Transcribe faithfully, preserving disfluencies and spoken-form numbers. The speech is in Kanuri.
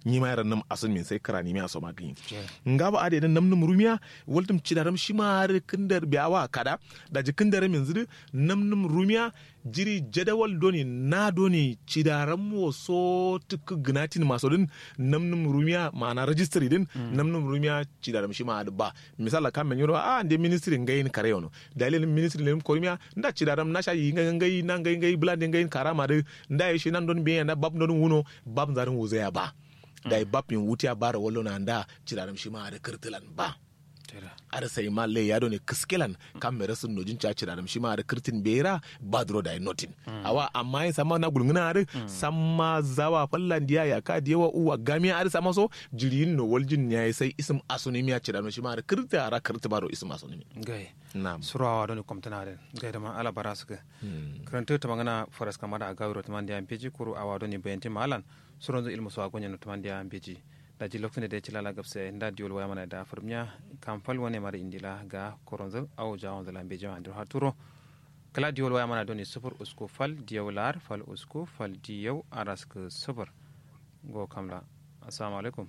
Nyima ye rannum asunmin sai kǝranimiya so ma gǝnyi. Ngaba adai dǝn namnum rumiya. Waltǝm cidaram shima adǝ kǝndar biya wa kada. Daji kǝndaram yinzǝ dǝ namnum rumiya. Jiri jadawal done na done cidaram wo so tǝkkǝ gǝnatin maso dǝn. Namnum rumiya ma'ana rajistiri dǝn. Namnum rumiya cidaram shima adǝ ba. Misalla kamme nyiro a nde ministri ngayin kare yono. Dalilin ministri lenim korumiya nda cidaram nasha yi ngai ngai na ngai ngai bǝlande ngayin karama dǝ. Nda ye shi nan don biye nda bab don wuno. Bab nzarin wuzaya ba. Dayi bab yin wutiya baro wallo na nda cidaram shima adǝ kǝrtǝlan ba. Adǝ sai ma lai ya done kǝskelan. Kamme rasǝn nojin ca cidaram shima adǝ kǝrtǝn bera. Ba duro dayi notin. Awa amma yin samma na gulngǝna adǝ samma zawa fallandiya yaka diyewa uwa gamiya adǝ samma so. Jiriyin no waljin yayi sai isǝm asunimiya cidaram shima adǝ kǝrtǝ ara kǝrtǝ baro isǝm asunimi. Ngai. Suro awa done komtǝna adǝ. Ngai dǝma ala bara sǝkǝ. Kǝrantǝ tǝmangǝna faras kamada agawiro tǝmandiya mbeji kuru awa done bayantin ma alan. Suronzǝ ilmu so agonye no tǝmandiya mbeji. Daji loktu nde dai cilala gabse nda diwol waya mana da furmiya. Kam fal wane mara indila ga koronzǝ awo jawonzǝ la mbeji ma andiro haturo. Kǝla diwol waya mana done sufur usku fal diyau lar fal usku fal diyau araskǝ sufur. Ngo kamla. Assalamu alaikum.